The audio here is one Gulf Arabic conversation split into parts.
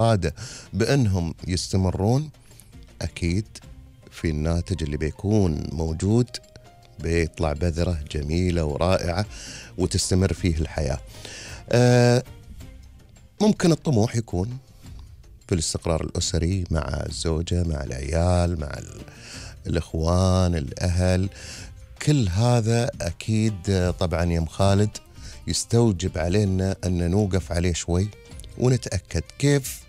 الإرادة بأنهم يستمرون، أكيد في الناتج اللي بيكون موجود بيطلع بذرة جميلة ورائعة وتستمر فيه الحياة. ممكن الطموح يكون في الاستقرار الأسري مع الزوجة، مع العيال، مع الإخوان، الأهل. كل هذا أكيد طبعا يا خالد يستوجب علينا أن نوقف عليه شوي ونتأكد كيف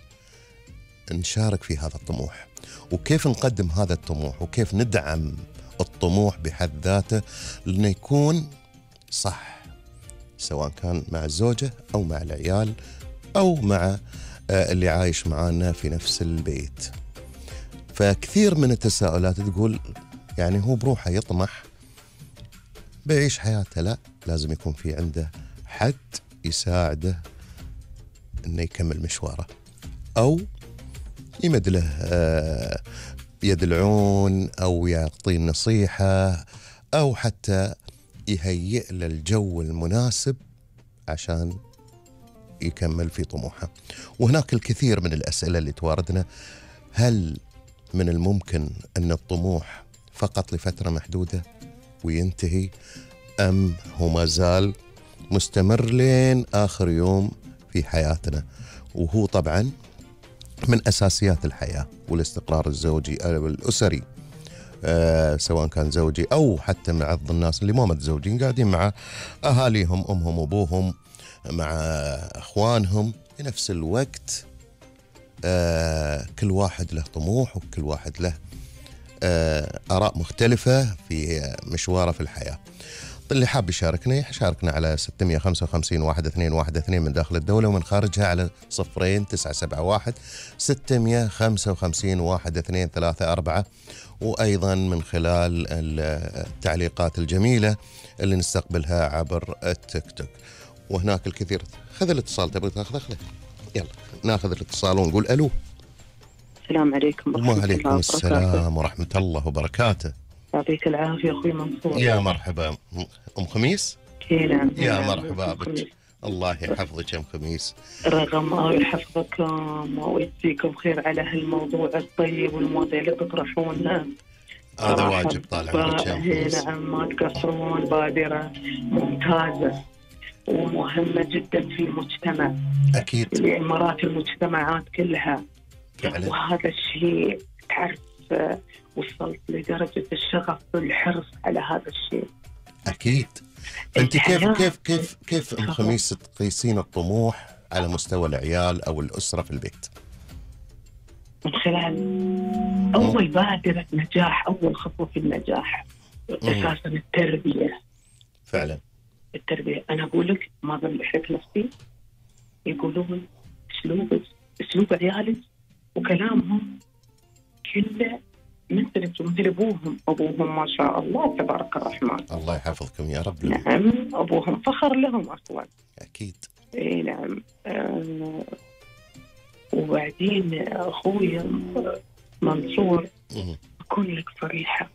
نشارك في هذا الطموح، وكيف نقدم هذا الطموح، وكيف ندعم الطموح بحد ذاته لأنه يكون صح، سواء كان مع الزوجة أو مع العيال أو مع اللي عايش معانا في نفس البيت. فكثير من التساؤلات تقول يعني هو بروحه يطمح بيعيش حياته، لا، لازم يكون في عنده حد يساعده انه يكمل مشواره، او يمد له يد العون، او يعطيه النصيحة، او حتى يهيئ له الجو المناسب عشان يكمل في طموحه. وهناك الكثير من الأسئلة اللي تواردنا: هل من الممكن أن الطموح فقط لفترة محدودة وينتهي، أم هو ما زال مستمر لين آخر يوم في حياتنا؟ وهو طبعا من أساسيات الحياة والاستقرار الزوجي أو الأسري، سواء كان زوجي أو حتى مع الناس اللي مو متزوجين قاعدين مع أهاليهم، أمهم وأبوهم، مع أخوانهم في نفس الوقت. كل واحد له طموح، وكل واحد له آراء مختلفة في مشواره في الحياة. اللي حاب يشاركنا على 655 1212 من داخل الدولة، ومن خارجها على 0971 655 1234، وأيضا من خلال التعليقات الجميلة اللي نستقبلها عبر التيك توك. وهناك الكثير. خذ الاتصال، تبغى تاخذه؟ يلا ناخذ الاتصال ونقول ألو. السلام عليكم ورحمة الله وبركاته. وعليكم السلام ورحمة الله وبركاته. يعطيك العافية أخوي منصور. يا مرحبا أم خميس. نعم. يا مرحبا بك، الله يحفظك يا أم خميس. رغم الله يحفظكم ويجزيكم خير على هالموضوع الطيب والمواضيع اللي تطرحونها. هذا واجب طال عمرك يا أم خميس. نعم، ما تقصرون، بادرة ممتازة ومهمة جدا في المجتمع، أكيد، لإمارات المجتمعات كلها فعلا. وهذا الشيء تعرف وصلت لدرجة الشغف والحرص على هذا الشيء. أكيد. أنت كيف أم خميس تقيسين الطموح على مستوى العيال أو الأسرة في البيت؟ من خلال أول بادرة نجاح، أول خطوة في النجاح أساسا التربية. فعلا التربية. أنا أقول لك ما بملحك نفسي، يقولون أسلوب عيالك وكلامهم كله مثل أبوهم ما شاء الله تبارك الرحمن. الله يحفظكم يا رب. نعم، أبوهم فخر لهم أصلا. أكيد. إيه نعم. وبعدين أخوي منصور أكون لك صريحة.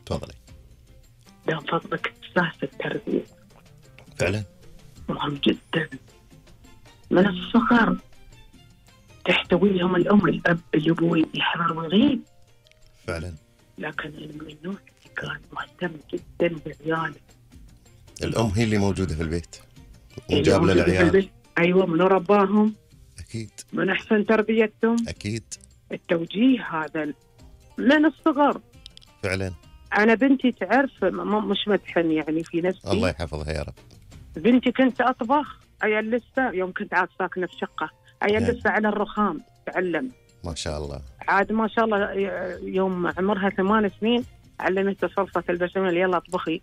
تفضلي. ده فضلك أساس التربية. فعلا مهم جدا. من الصغر تحتويهم الأم الأب الأبوي يحضر ويغيب. فعلا. لكن من النوع كان مهتم جدا بعياله. الأم هي اللي موجودة في البيت وجاب للعيال. أيوة، من رباهم. أكيد. من أحسن تربيتهم. أكيد. التوجيه هذا من الصغر. فعلا. أنا بنتي تعرف مش مدحن يعني في نفسي. الله يحفظها يا رب. بنتي كنت أطبخ أيام لسه، يوم كنت عاد ساكنة في شقة أيام لسه على الرخام تعلم. ما شاء الله. عاد ما شاء الله يوم عمرها 8 سنين علمت صلصة البشاميل، يلا اطبخي.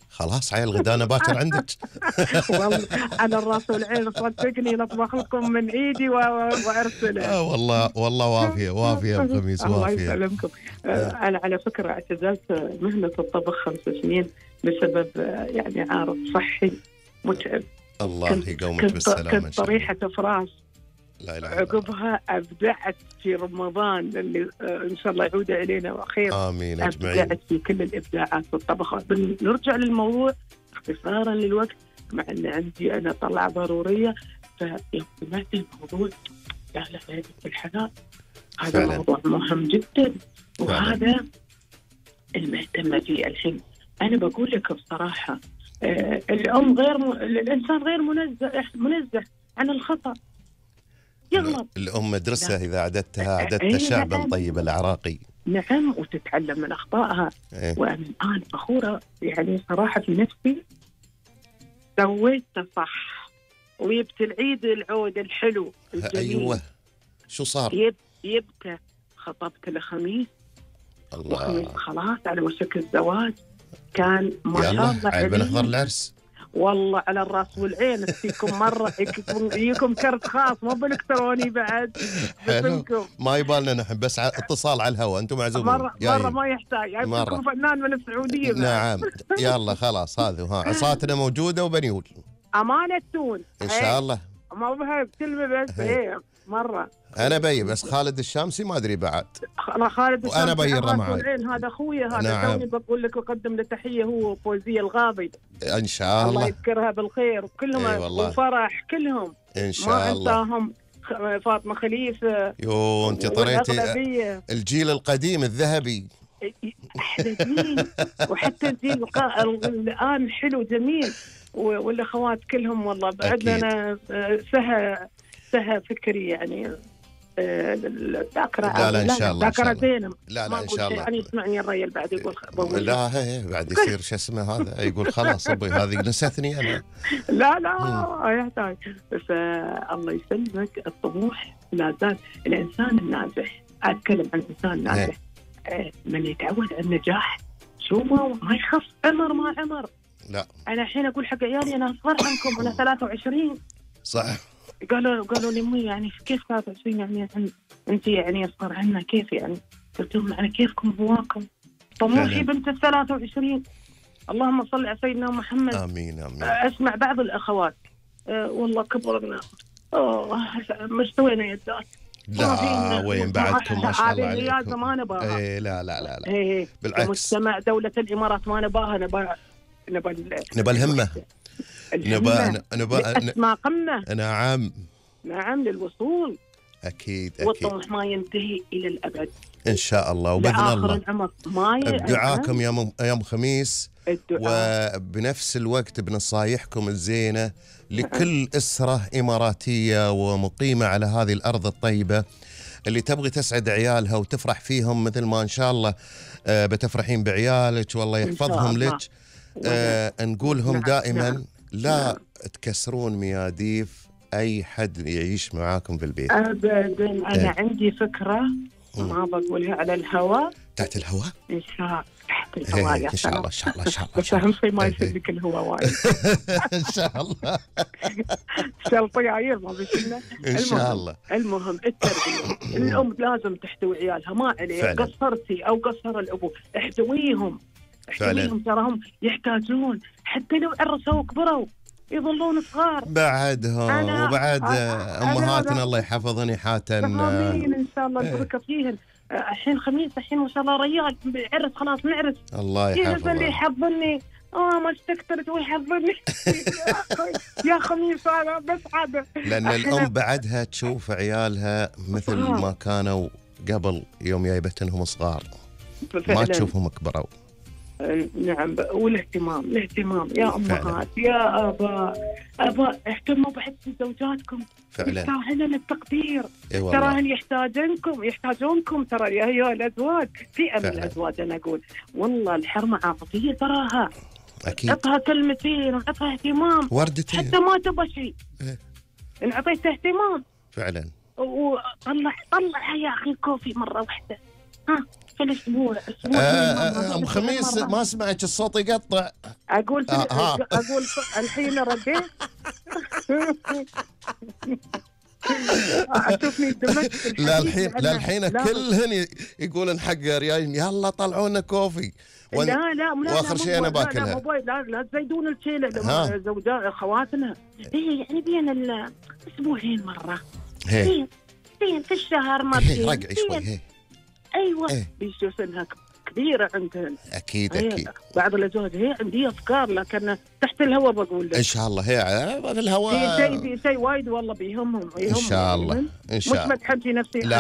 خلاص عيل غدانا باكر عندك. والله على الراس والعين، صدقني نطبخ لكم من ايدي وارسله. والله وافيه يا ابو خميس، وافيه. الله يسلمكم. انا على فكره اعتزلت مهنه الطبخ 5 سنين بسبب يعني عارض صحي متعب. الله يقومك بالسلامه. كنت طريحه فراش. لا إله إلا عقبها أبدعت في رمضان اللي إن شاء الله يعود إلينا خير. آمين أجمعين. أبدعت في كل الإبداعات في الطبخ. نرجع للموضوع اختصارا للوقت، مع أن عندي أنا طلعة ضرورية. فيوم سمعت الموضوع لا لا لا بالحلال. هذا فعلاً. موضوع مهم جدا، وهذا المهتمة فيه الحين. أنا بقول لك بصراحة الأم الإنسان غير منزه عن الخطأ، يغلط. الأم مدرسة إذا عددتها عددت إيه شعبا نعم. طيب العراقي. نعم، وتتعلم من أخطائها. إيه. وأنا الآن فخورة يعني صراحة في نفسي، سويته صح، ويبت العيد العود الحلو الجميل. أيوة، شو صار؟ يبته خطبت الخميس، وخميس الله، خلاص على وشك الزواج. كان ما شاء يلا الله عيب نحضر عليه. العرس. والله على الراس والعين، فيكم مرة يجيكم كرت خاص مو بالإلكتروني بعد. حلو، ما يبالنا نحن بس اتصال على الهواء، أنتم معزومين. مرة ما يحتاج، يعني مرة. فنان من السعودية بعد. نعم، يلا خلاص، هذا ها عصاتنا موجودة وبنيول أمانة تون إن شاء الله. ما بها كلمة بس. إيه مرة أنا بي بس خالد الشامسي ما أدري بعد. أنا خالد وأنا بي الرمعي. هذا أخويا هذا. نعم. توني بقول لك أقدم له تحية، هو فوزية الغاضي. إن شاء الله الله. يذكرها بالخير وكلهم. إي والله. وفرح كلهم إن شاء ما الله. أنساهم. فاطمة خليفة. يو أنت طريتي والأغلبية. الجيل القديم الذهبي. أحلى جيل. وحتى الجيل الآن حلو جميل. والأخوات كلهم والله. بعدنا أنا سهى فكري يعني الذاكرة. لا لا إن شاء الله. ذاكرة زينة. لا لا إن شاء الله. يعني يسمعني الرجال بعد يقول لا هي بعد يصير شو اسمه هذا يقول خلاص أبوي هذه نستني أنا. لا يحتاج. بس الله يسلمك، الطموح لا زال. الإنسان الناجح، أتكلم عن الإنسان ناجح من يتعود على النجاح. شو ما يخف عمر ما عمر. لا أنا الحين أقول حق عيالي أنا أصغر عنكم، أنا 23. صح. قالوا لي أمي يعني كيف 23 يعني أنت يعني أصغر عنا كيف يعني؟ قلت لهم على كيفكم هواكم. طموحي بنت 23. اللهم صل على سيدنا محمد. آمين آمين. أسمع بعض الأخوات والله كبرنا، مش سوينا يدات. لا وين بعدكم ما شاء الله عليكم. هذه ما نبغاها. إيه لا إيه بالعكس. مجتمع دولة الإمارات ما نبغاها. نبى الهمة. نبى أسمى قمة. نعم للوصول. أكيد والطموح ما ينتهي إلى الأبد إن شاء الله. وبإذن الله العمر بدعاكم يوم خميس، وبنفس الوقت بنصايحكم الزينة لكل أسرة إماراتية ومقيمة على هذه الأرض الطيبة اللي تبغي تسعد عيالها وتفرح فيهم مثل ما إن شاء الله بتفرحين بعيالك والله يحفظهم لك. نقولهم دائما لا تكسرون مياديف أي حد يعيش معاكم في البيت أبدا. أنا عندي فكرة ما بقولها على الهواء. تحت الهواء إن شاء تحت الهواء إن شاء الله إن شاء الله إن شاء الله. بس أهم شيء ما يسلك الهواء وايد. إن شاء الله. شلطياير ما بيشلنا. إن شاء الله. المهم التربية. الأم لازم تحتوي عيالها، ما عليه قصرتي أو قصر الأبو، احتويهم تراهم يحتاجون. حتى لو عرسوا وكبروا يظلون صغار بعدهم. وبعد أمهاتنا الله يحفظن يحاتن. آمين إن شاء الله نبارك فيهن. الحين خميس، الحين ما شاء الله ريال عرس خلاص نعرس. الله يحفظه. اللي يحضرني ما استكترت ويحضرني. يا خميس أنا بس عادة. لأن الأم بعدها تشوف عيالها مثل ما كانوا قبل يوم جايبتنهم صغار، ما تشوفهم كبروا. نعم. والاهتمام يا أمهات يا آباء اهتموا بحسن زوجاتكم. فعلا يستاهلن التقدير. إيه تراهن يحتاجونكم ترى يا أيها الأزواج. فئة من الأزواج أنا أقول والله الحرمة عاطفية تراها. أكيد. عطها كلمتين وعطها اهتمام، وردتين حتى ما تبغى شيء. إن أعطيته اهتمام فعلا. طلع يا أخي كوفي مرة واحدة في الأسبوع. أم خميس ما سمعت الصوت يقطع. أقول الحين رديت. أشوفني دمجت. الحين كلهن يقولن حق ريال يلا طلعونا كوفي. لا واخر شيء انا باكلها. لا تزيدون الشيله زوجات اخواتنا. يعني بين الاسبوعين مره. بين في الشهر مرتين. رقعي شوي. ايوه بيشوفنها كبيرة عندهن. أكيد أكيد. بعض الأزواج هي عندي أفكار لكن تحت الهواء بقول لك. إن شاء الله هي على الهواء. شيء وايد والله بيهمهم. إن شاء الله إن شاء الله. مش مدحن في نفسي. لا